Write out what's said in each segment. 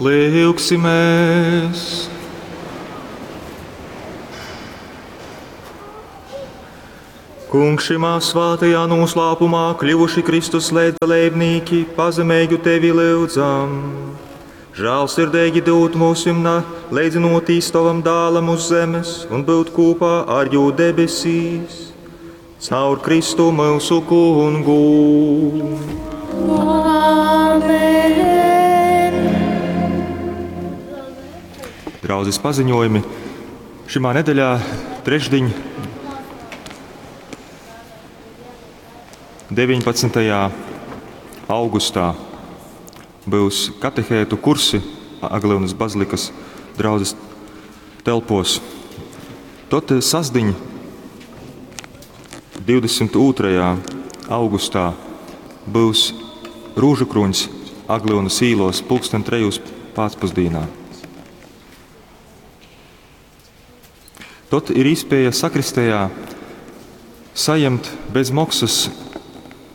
Lyugsimēs! Kungs, šymā svātajā noslēpumā kļuvuši Kristus līdzdalībnieki, pazemīgi tevi lyudzam. Žēlsirdīgi dod mūsim leidzinoties tavam dālam uz zemes un būt kopā ar jū debesīs. Caur Kristu mūsu kungu. Amen. Draudzes paziņojumi. Šimā nedeļā, trešdiņ, 19. augustā būs katehētu kursi Aglyunas bazilikas draudzes telpos. Tot sasdiņ, 22. augustā būs rūžukrūņs Aglyunas īlos pulksten trejūs pēcpusdienā. Tot ir iespēja sakristējā saņemt bez maksas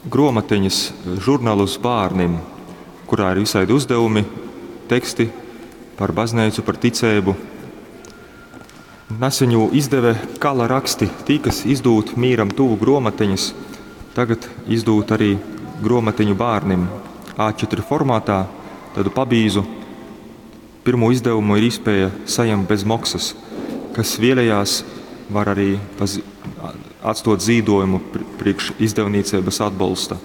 gromatiņas, žurnālus bērnim, kurā ir visādi uzdevumi, teksti par baznīcu, par ticību. Neseņu izdeve Kala raksti, tī, kas izdūt mīram tuvu gromatiņas, tagad izdūt arī gromatiņu bērnim A4 formātā, tādu pabīzu. Pirmo izdevumu ir iespēja saņemt bez maksas. Kas vēlējās, var arī atstot zīdojumu priekš izdevniecības atbalsta.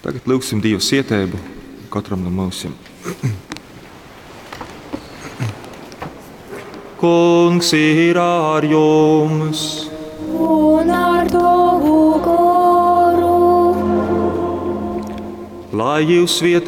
Tagad lūgsim Dievu sietēbu katram no mūsim. Kungs ir ar jums! Un ar tavu goru. Lai jūs svietē